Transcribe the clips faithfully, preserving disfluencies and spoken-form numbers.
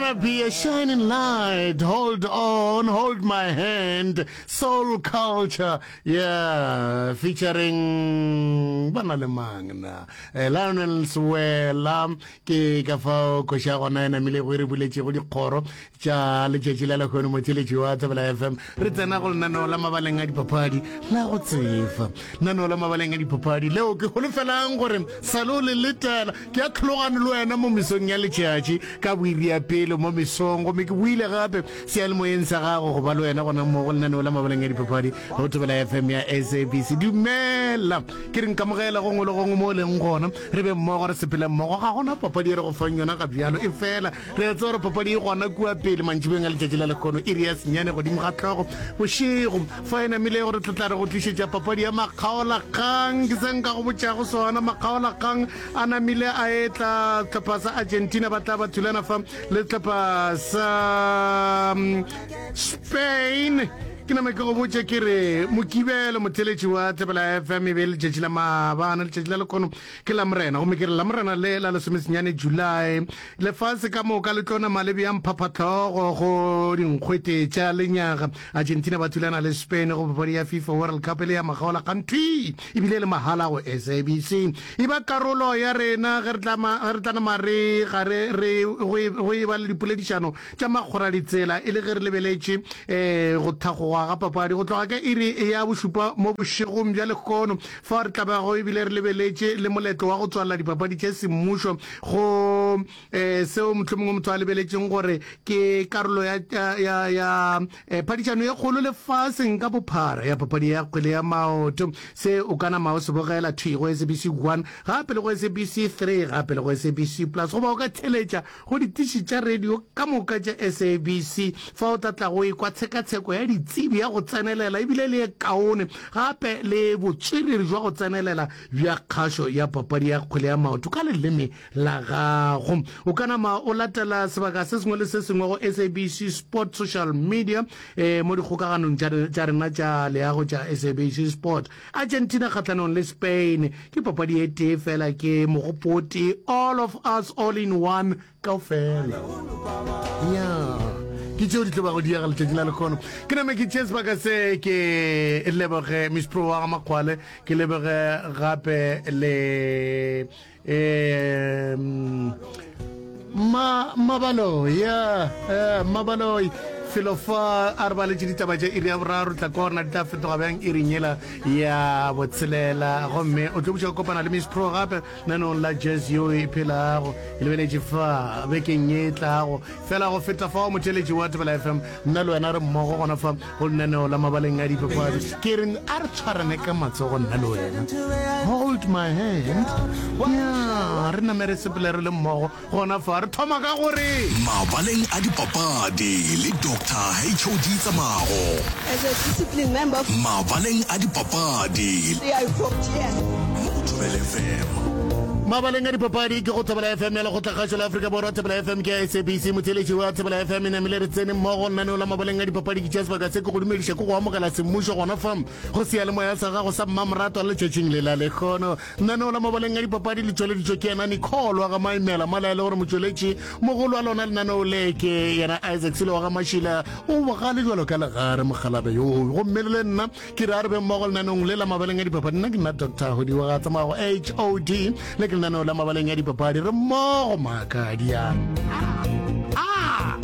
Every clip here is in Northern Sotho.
Gonna be a shining light. Hold on, hold my hand. Soul Culture. Yeah, featuring bana le mang na. Eh, Lionel Sewela ke ka fao koša ya gona e namile go e re buletšego dikgoro tša letšatši la lehono motheletši wa Thobela F M. Re tsena go lenaneo la mabaleng a dipapadi la go tsefa. Lenaneo la mabaleng a dipapadi leo ke holofelang gore salo le letela ke a tlhologane le wena mo mesong ya letšatši ka boiri ya pele mo mesong, gomme ke buile gape seyalemoyeng sa gago go ba le wena gona mo go lenaneo la mabaleng a dipapadi go Thobela F M ya S A B C. Dumela, ke re nkamogela gongwe le gongwe mo o leng gona, re be mmogo, re sepele mmogo. Ga gona papadi e re go fang yona ga bjalo, e fela re a tseba gore papadi e gona kua pele mantšibeng a letšatši la lekgono, iri ya senyane godimo ga hlogo bošego, fa e namile gore tlo tla re go tlišetša papadi ya makgaolakgang. Ke se nka go botšago sona, makgaolakgang a namile a etla. Sehlopha sa Argentina ba tla ba thulana fa le sehlopha sa mm, Spain. Ke nama ke go botše ke re Mokibelo, motheletši wa Thobela F M, e be letšatši la maabane. Letšatši la lekono ke la Morena, gomme ke re la Morena le la lesomesenyane July, lefase ka moka le tlo nama le bjang phaphatlhogo go dinkgwete tša lenyaga. Argentina ba thulana le Spain go papadi ya FIFA World Cup e le ya makgaola kganthwi, ebile le mahala go S A B C. E ba karolo ya rena ge re tla nama re gare re go e ba le dipoledišano tša makgora ditsela, e le ge re lebeletše um go thagoga ga papadi go tloga ka iri ya bošupa mo bošegong bja lehono, fa re tlabago ebile re lebeletše le moletlo wa go tswalela dipapadi tše semmušo go um seo mohlomongwe motho a lebeletšeng gore ke karolo ya, ya, ya eh, phadišano ye kgolo lefaseng ka bophara ya papadi ya kgwele ya maoto. Se o ka nama o se bogela thwi go S A B C one, gape le go S A B C three, gape le go S A B C Plus, goba o ka theletša go ditiši tša radio ka moka tša S A B C, fa o tla tla go ekwa tshekatsheko ya ditsebi ya go tsenelela ebile le e kaone, gape le botswerere jwa go tsenelela bja kgašo ya papadi ya kgwele ya maoto ka leleme la gago. O ka nama o latela sebaka se sengwe le se sengwe go S A B C Sport social media, eh, mo dikgokaganong tša rena tša leago tša S A B C Sport. Argentina kgatlhanong le Spain ke papadi e tee fela, ke mogopoti, all of us, all in one, kaofela ya ke tšeo di tlo bago diega letšatši la lekgono. Ke name ke tšee sebaka se ke leboge Miss Pro wa ga Makgwale, ke leboge gape le um ma mabaloi ya eh, mabaloi felo fa a re baletše ditaba tša iri ya boraro. Tla kwa gorena di tla fetoga bjang iring yela ya botshelela, gomme o tlo buša go kopana le Miss Pro gape nanong la jazz yo e phelago e lebeletše fa bekeng ye e tlago. Fela go feta fao, motheletši wa Thobela F M, nna le wena re mmogo gona fa go lenaneo la mabaleng a dipapadi. Ke re a re tshwarane ka matsogo, nna le wena, hold my hand ya re name re sepele re le mmogo gona fa. Re thoma ka gore Mabaleng a dipapadi le Doctor H O D Tsamago. As a discipline member, Mabaleng a dipapadi I vote yes. mo go Thobela F M. Mabaleng a dipapadi ke go Thobela F M ya Lekgotlakgašo la Afrika Borwa. Thobela F M ke ya S A B C. Motheletši wa Thobela F M, e namile re tsene mmogo lenaneo la mabaleng a dipapadi. Ke tšea sebaka se ke go dumediša, ke go amogela semmušo gona fa go seyalemoya sa gago sa mmamoratwa letšatšing le la lekgono. Lenaneo la mabaleng a dipapadi le tšweleditšwe ke yena Nicole wa ga Maimela mola e le gore motšweletši mogolo wa lona lenaneo le ke yena Isaac Selo wa ga Mašila, o bogale jalo ka legare mogalabe yoo. Gomme le nna ke re a re be mmogo lenaneong le la mabaleng a dipapadi. Nna ke nna Doctor Hodiwa ga Tsamago H O D, le ke lenaneo la mabaleng a dipapadi. Re mmogo maakadiana ah!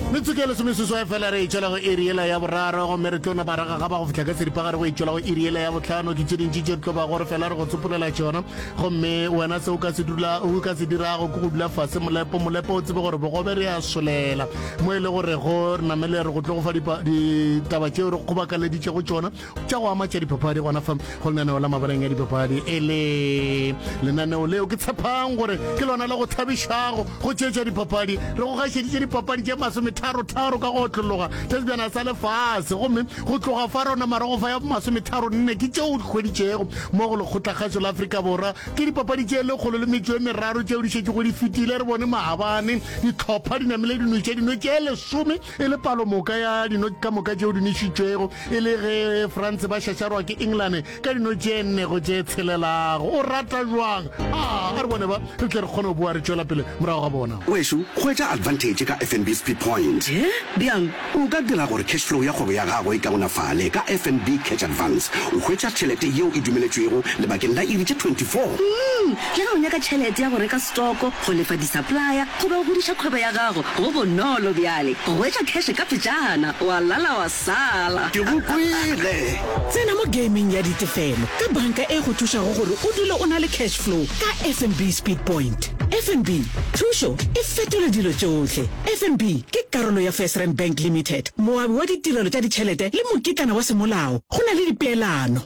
Metsotso ya lesomeseswai fela re e tšwela go iri yela ya boraro, gomme re tlo napa re gagaba go fihla ka seripagare go e tšwela go iri yela ya bohlano. Ke tše dintši tše re tlo bago re fela re go tsopolela tšona, gomme wena se o ka se dula o ka se dirago ke go dula fase molepo molepo, o tsebe gore bogobe re a solela mo e le gore go re namele re go tlo go fa ditaba tšeo re kgobakaleditšego tšona tša go ama tša dipapadi gona fa go lenaneo la mabaleng a dipapadi, e le lenaneo leo ke tshepang gore ke lona le go thabišago go tšetša dipapadi. Re go gašeditše dipapadi tše masometharo. tharo ka go otlologa tša sebjana sa lefase gomme go tloga fa rona marago fa ya masometharo nne ke tšeo di hweditšego mo go lekgotlakgašo la Afrika Borwa ke dipapadi tše lekgolo le metšo e meraro tšeo di šetšego di fetile re bone maabane dihlopha di namile dino tše dino tše lesome e le palomoka ya dino ka moka tšeo di nwešitšwego e le ge France ba šašarwa ke England ka dino tše nne go tše tshelelago o rata jwang a a re bone ba re tle re kgone go boa re tšwela pele morago ga bona Wešo, hwetša advantage ka FNB Speed Point. Eh? Bjang? O ka dira gore cash flow ya kgwebo ya gago e kaonafale ka FNB Cash Advance. O hwetša tšhelete yeo e dumeletšwego lebakeng la iri tše twenty four. Mm, le ge o nyaka tšhelete ya go reka stoko, go lefa di-supplier goba go godiša kgwebo ya gago, go bonolo bjale go hwetša cash ka pejana, wa lala wa sala. Ke go kwele! Tsena mo gaming ya ditefelo ka banka e go thušago gore o dule o na le cash flow ka FNB Speed Point. FNB, thušo e fetola dilo tšohle. FNB ke karolo ya FirstRand Bank Limited, moabi wa ditirelo tša ditšhelete le mokitlana wa semolao. Go na le dipeelano.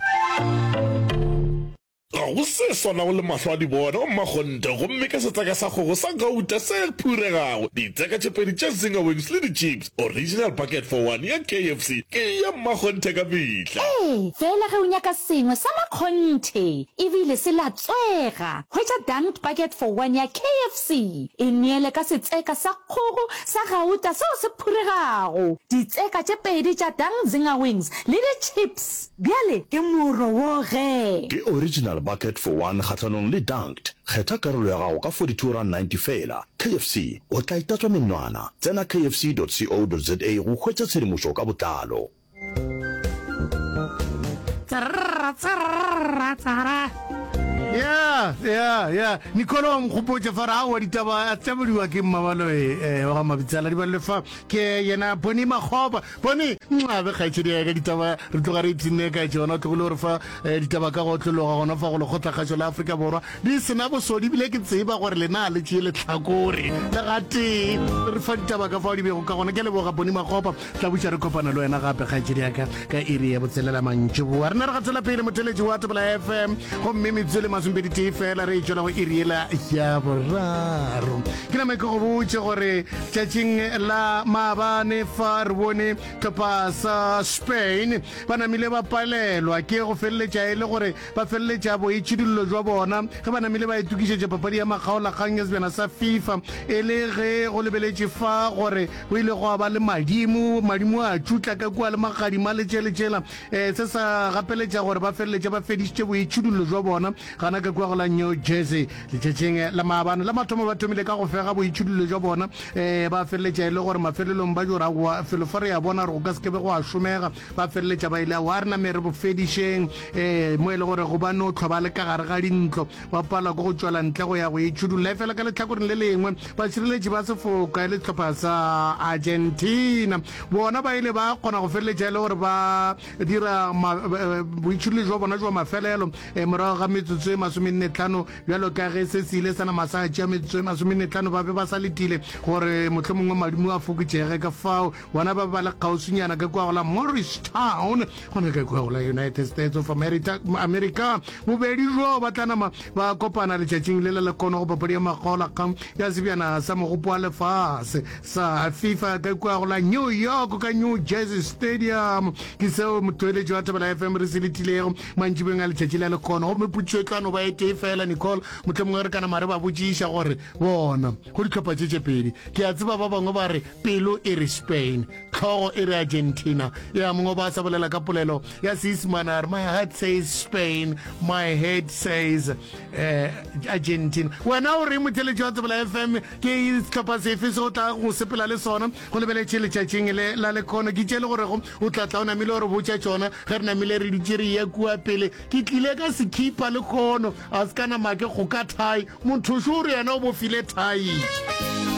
Ga go se swanago le mahlo a di bona o mmakgonthe gomme ka setseka sa kgogo sa gauta se phuregago ditseka tše pedi tša zinger wings le di-chips original bucket for one ya KFC ke ya mmakgonthe ka mehla. Ee, fela ge o nyaka sengwe sa makgonthe ebile se latswega, hwetša Dunked Bucket for One ya KFC. E neele ka setseka sa kgogo sa gauta seo se phuregago, ditseka tše pedi tša Dunked Zinger Wings le di-chips. Bjale ke moro wo ge. Ke original bucket for one kgahlanong le Dunked. Kgetha karolo ya gago ka forty two rand ninety feela. KFC, o tla itatswa menwana. Tsena kfc dot co dot za go hwetša tshedimošo ka botlalo. Ya, ya, ya. Nicole wa nkgopotša fa re aowa ditaba a tšabodiwa ke Mmabaloe eh, wa ga Mabitsela di balele fa ke yena Bonnie Makgopa. Bonnie, nxabe kgaetšedi ya ka ditaba re tloga re ipshinne ka tšona o tlogile gore fa eh, ditaba ka go otlologa gona fa go lekgotlakgašo la Afrika Borwa di sena bosodi ebile ke tseba gore lena le tšee lehlakore le gatee re fa ditaba ka fao di bego ka gona ke leboga Bonnie Makgopa tla buša re kopana le wena gape kgaetšedi ya ka ka iri ya botselela mantšiboa re na re gatela pele motheletši wa Thobela FM gomme metsotso le masomepedi tee fela re e tšwela go iri yela ya boraro ke nama ke go botše gore tšatšing la maabane fa re bone tlhopha sa Spain ba namile ba palelwa ke go feleletša e le gore ba feleletša boitšhidullo jwa bona ge ba namile ba itokišetša papadi ya makgaolakgang ya sebjana sa FIFA e le ge go lebeletše fa gore go ile gwa ba le madimo madimo a tšutla ka kua le magadima le tšele tšela um se sa gapeletša gore ba feleletše ba fedišitše boitšhidullo jwa bona gana ka kua go la New Jersey letšatšing la maabane la mathomo ba thomile ka go fega boitšhidullo jwa bona um ba feleletša e le gore mafelelong ba jora goa felo fa re ya bona gore go ka se ke be go a šomega ba feleletša ba ile wa re name re bo fedišeng um mo e le gore go ba no tlhwa ba le ka gare ga dintlo ba palwa ke go tšwela ntle go ya go itšhudulla efela ka lehlakoreng le lengwe bašireletši ba sefoka e le sehlopha sa Argentina bona ba ile ba kgona go feleletša e le gore ba dira boitšhudullo jwa bona jwa mafelelo morago ga metsotso e masomenne tlhano bjalo ka ge se se ile sa nama sa tšea metsotso e masomenne tlhano ba be ba sa letile gore mohlomongwe madimo a fokotšege ka fao bona ba ba le kgauswinyana ka kua go la Morristown gona ka kua go la United States of America, America. Bobedi bjo ba tla nama ba kopana letšatšing le le lekono go papadi ya makgaolakgang ya sebjana sa mogopo wa lefase sa FIFA ka kua go la New York ka New Jersey Stadium. Ke seo motheeletši wa Thobela FM re se letilego mantšibeng a letšatši la lekono. Gomme potšišo e tla no ba e tee fela, Nicole, mohlomongwe re ka nama re ba botšiša gore bona go dihlopha tše tše pedi. Ke a tseba ba bangwe ba re pelo e re Spain, hlogo e re Argentina. Ya mongwe ba sa bolela ka polelo ya Seisemane a re my heart says Spain, my head says eh, Argentina. Wena o reng motheeletši wa Thobela FM ke sehlopha sefe se o tla go sepela le sona go lebeletše letšatšing le la lekhono? Ke tše le gorego o tla tla o namile o re botša tšona ge re namile re dutše re eya kua pele. Ke tlile ka sekhipa lekhono a se ka nama ke kgoka thai. Motho šo o re yena o bofile thai.